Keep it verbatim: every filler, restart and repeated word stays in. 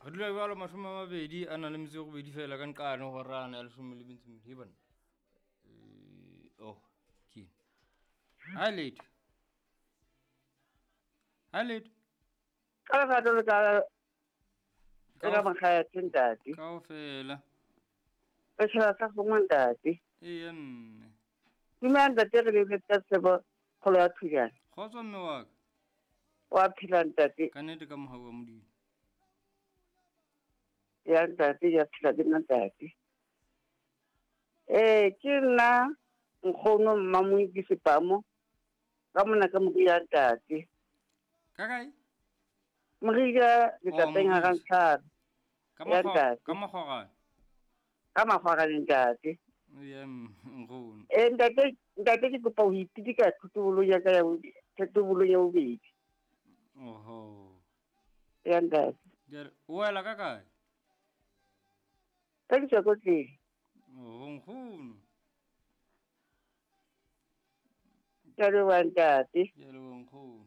Re dula jwalo mashome a mabedi a nang le metso e robedi fela ka nqane horana ya leshome le metso e mmedi. He banna. Eh, oh, ke ena. Ha letho. Ha letho. Ka lerato le ka le ka makgayathe ntate. Kaofela. Re tjhaba sa kgomo ntate. Eya mme. Dumela ntate, re lebetse ka tsebo kgolo ya Thujana. Kgotso mme wa ka. Wa phela ntate. Ka nnete ka mohau wa Modimo. Ya ntate, ya phela ke nna ntate. Eh, ke nna nkgono Mmamoiki Sepamo ka mona ka Moria ntate. Ka kae? Moria letlapeng ha Moria. Rantshana. Ka Ya makgwa- ntate. ka makgwarane. Ka makgwarane ntate. Eya mme, nkgono. Eh, ntate, ntate ke kopa ho ipitika thotobolong ya ka ya bobedi, thotobolong ya bobedi. Oho. Ya ntate. Jwale, o wela ka kae? Ka Ditsokotleng. Oho, nkgono. Ke a leboha ntate. Ke a leboha nkgono.